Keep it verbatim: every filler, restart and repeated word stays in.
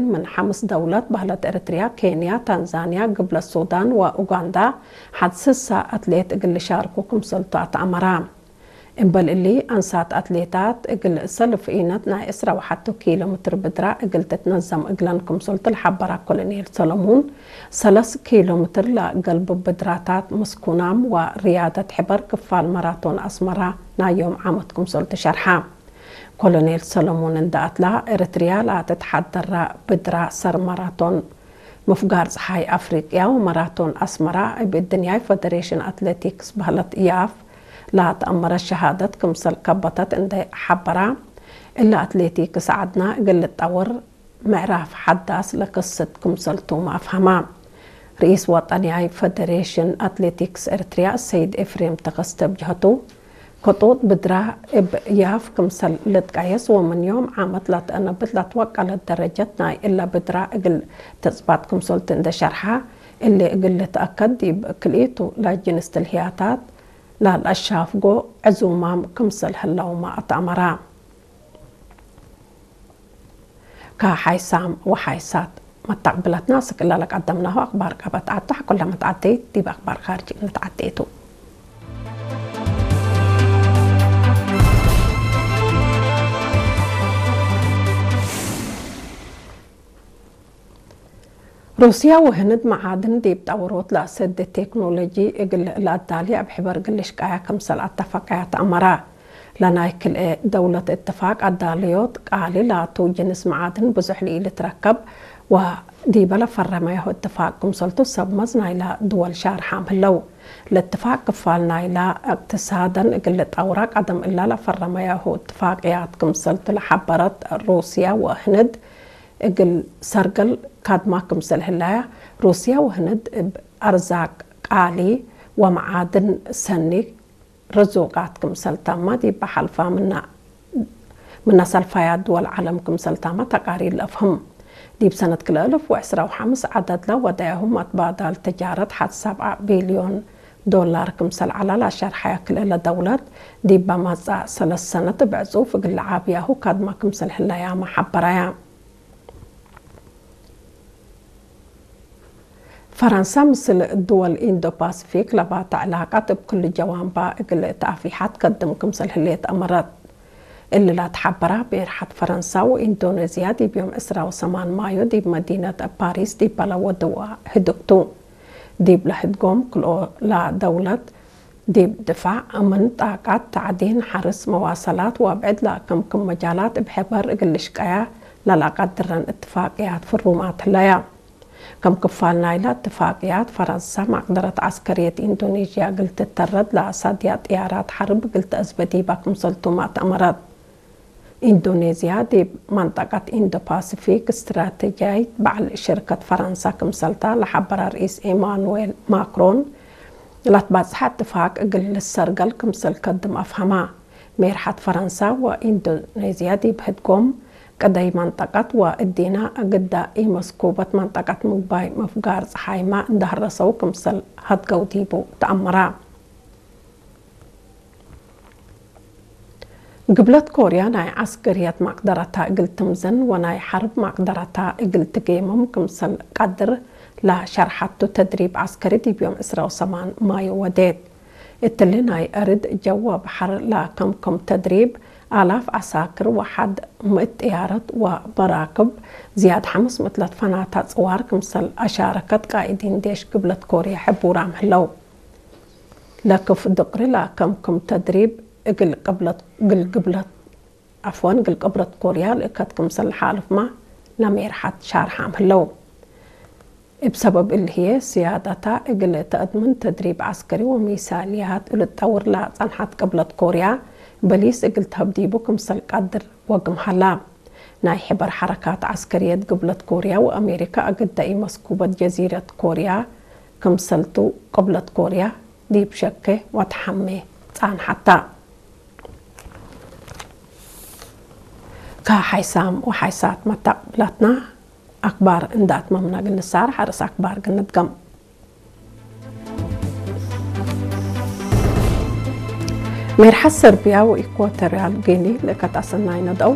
ምን ሐምስ ደውለት በህለት ኤረትርያ፣ ኬንያ፣ ታንዛንያ፣ ግብለት ሱዳን ወኡጋንዳ ሐድ ስሳ አትሌት እግል ልሻርኩ ክምሰልቱ አትአመራ። እምበል እሊ፣ አንሳት አትሌታት እግል ሰልፍ ኢነት ናይ ዕስራ ወሐቱ ኪሎ ምትር ብድራ እግል ትትነዘም እግለን ክምሰልቱ ለሐበራ ኮሎኔል ሰለሙን፣ ሰለስ ኪሎ ምትር ለገልቡ ብድራታት ምስኩናም ወርያደት ሕበር ክፋል መራቶን አስመራ ናይ ዮም ዓመት ክምሰልቱ ሸርሐ። ኮሎኔል ሰለሙን እንደ አትላ፣ ኤረትርያ ለትትሐደራ ብድራ ሰር መራቶን ምፍጋር ጸሓይ አፍሪቅያ ወመራቶን አስመራ እብ እድንያይ ፈደሬሽን አትሌቲክስ በህለት ያፍ ለአትአመረት ሸሃደት ክምሰል ከበተት እንዴ ሐበራ፣ እለ አትሌቲክስ ዐድና እግል ልጠውር ምዕራፍ ሐዳስ ለክስት ክምሰልቱመ አፍሀማ። ርኢስ ወጠንያይ ፈደሬሽን አትሌቲክስ ኤርትርያ ሰይድ ኤፍሬም ተከስተ እብ ጀህቱ፣ ክጡጥ ብድራ እብ ያፍ ክምሰል ልትቀየስ ወምን ዮም ዓመት ለትአነብት ለትወቀለት ደረጀት ናይ እለ ብድራ እግል ትጽባት ክምሰልቱ እንዴ ሸርሐ፣ እሊ እግል ልትአከድ ዲብ ክልኢቱ ለጅንስ ትልህያታት ለለአሻፍጎ ዕዙማም ክምሰል ህለውመ አትአመራ። ከሓይሳም ወሓይሳት መተቅብለትና፣ ስክ እለ ለቀደምናሁ አክባር ቀበት ዐዱ፣ ሐቆለ መትዓደይት ዲብ አክባር ካርጅ እንተዓዴ ቱ። ሩስያ ወህንድ መዓድን ዲብ ጠውሮት ለአሰዴ ቴክኖሎጂ እግል ለአዳሊ እብ ሕበር እግል ልሽቀያ ክምሰል አተፈቀያ ተአመራ። ለናይ ክልኤ ደውለት እትፋቅ አዳልዮት ቃሊ ላቱ ጅንስ መዓድን ብዙሕ ለኢልትረከብ ወዲበ ለፈረመያሁ እትፋቅ ክምሰልቱ ሰብ መዝ ናይላ ድወል ሻርሓም ህለው። ለእትፋቅ ክፋል ናይላ እቅትሳደን እግል ልጠውራ ቀደም እላ ለፈረመያሁ እትፋቅያት ክምሰልቱ ለሐበረት ሩስያ ወህንድ እግል ሰርገል ካድማ ክምሰል ህለያ፣ ሩስያ ወህንድ እብ አርዛቅ ቃሊ ወመዓድን ሰኒ ርዙቃት ክምሰል ተመ ዲበ ሐልፋ ምነ፣ ምነ ሰልፋያት ድወል ዐለም ክምሰል ተመ ተቃሪር ለአፍህም። ዲብ ሰነት ክልኤ አልፍ ወዕስራ ወሐምስ ዐደድ ለወደያሁ መትባዳል ትጃረት ሐድ ሰብዐ ቢልዮን ዶላር ክምሰል ዐላ ለአሸርሐየ ክልኤ ለደውለት፣ ዲበ መጽአ ሰለስ ሰነት እብ ዕጹፍ እግል ለዓብያሁ ካድማ ክምሰል ህለያመ ሐበረየ። ፈረንሳ ምስል ድወል ኢንዶ-ፓሲፊክ ለባተ ዕላቀት እብ ክሉ ጀዋንባ እግል ተአፊሓት ከድም ክምሰል ህሌት አመረት። እሊ ለትሐበራ ቤርሐት ፈረንሳ ወኢንዶኔዝያ ዲብ ዮም ዕስራ ወሰማን ማዮ ዲብ መዲነት ፓሪስ ዲበ ለወድዋ ህድግ ቱ። ዲብለ ህድጎም ክልኦላ ደውለት ዲብ ድፋዕ፣ አምን፣ ጣቃት፣ ተዕዲን፣ ሐርስ፣ መዋሰላት ወአብዕድ ለአከምክም መጃላት እብ ሕበር እግል ልሽቀያ ለለአቀድረን እትፋቅያት ፍሩማት ህለያ። ከም ክፋል ናይለ እትፋቅያት፣ ፈረንሳ መቅደረት ዐስከርየት ኢንዶኔዥያ እግል ትተረድ ለአሳድያ ጥያራት ሐርብ እግል ተአዝበ ዲባ ክምሰልቱመ አትአመረት። ኢንዶኔዝያ ዲብ መንጠቀት ኢንዶ-ፓሲፊክ እስትራተጅያይት በዐል ሽርከት ፈረንሳ ክምሰልታ ለሐበረ ርኢስ ኤማኑዌል ማክሮን፣ ለትበጽሐ እትፋቅ እግል ልሰርገል ክምሰል ከድም አፍሀማ። ሜርሐት ፈረንሳ ወኢንዶኔዝያ ዲብ ህድጎም ቅደይ መንጠቀት ወእዲነ ግዳ ኢመስኩበት መንጠቀት ምግባይ ምፍጋር ጸሓይመ እንደ ሀረሰው ክምሰል ሀድገው ዲቡ ተአመረ። ግብለት ኮርያ ናይ ዐስከርየት መቅደረታ እግል ትምዘን ወናይ ሐርብ መቅደረታ እግል ትጌምም ክምሰል ቀድር ለሸርሐቱ ተድሪብ ዐስከሪ ዲብ ዮም ዕስራ ወሰማን ማዮ ወዴት። እትሊ ናይ አርድ፣ ጀው ወበሐር ለከምክም ተድሪብ፣ አላፍ ዐሳክር ወሐድ ምእት ጥያረት ወመራክብ፣ ዝያድ ሐምስ ምእት ለትፈናተ ጽዋር ክምሰል አሻረከት ቃኢዲን ዴሽ ግብለት ኮርያ ሕቡራም ህለው። ለክፍ ድቅሪ ለከምክም ተድሪብ እግል ቅብለት፣ እግል ግብለት፣ ዐፍወን፣ እግል ቅብለት ኮርያ ልእከት ክምሰል ለሓልፍመ ለሜርሐት ሻርሓም ህለው። እብ ሰበብ እሊ ህዬ፣ ስያደታ እግል ተአድምን ተድሪብ ዐስከሪ ወሚሳልያት ልትጠውር ለጸንሐት ቅብለት ኮርያ፣ በሊስ እግል ተህብ ዲቡ ክምሰል ቀድር ወግም ሀላ። ናይ ሕበር ሐረካት ዐስከርየት ግብለት ኮርያ ወአሜሪካ አግደ ኢመስኩበት ጀዚረት ኮርያ ክምሰልቱ፣ ቅብለት ኮርያ ዲብ ሸኬ ወተሐሜ ጸንሐታ። ከሐይሳም ወሐይሳት መተቅብላትና አክባር እንደ አትመምና እግል ንሳር ሐርስ አክባር እግል ንድገም። ሜርሐት ሰርቢያ ወኢኳቶርያል ጊኒ ልእከት አሰናይ ነድአው።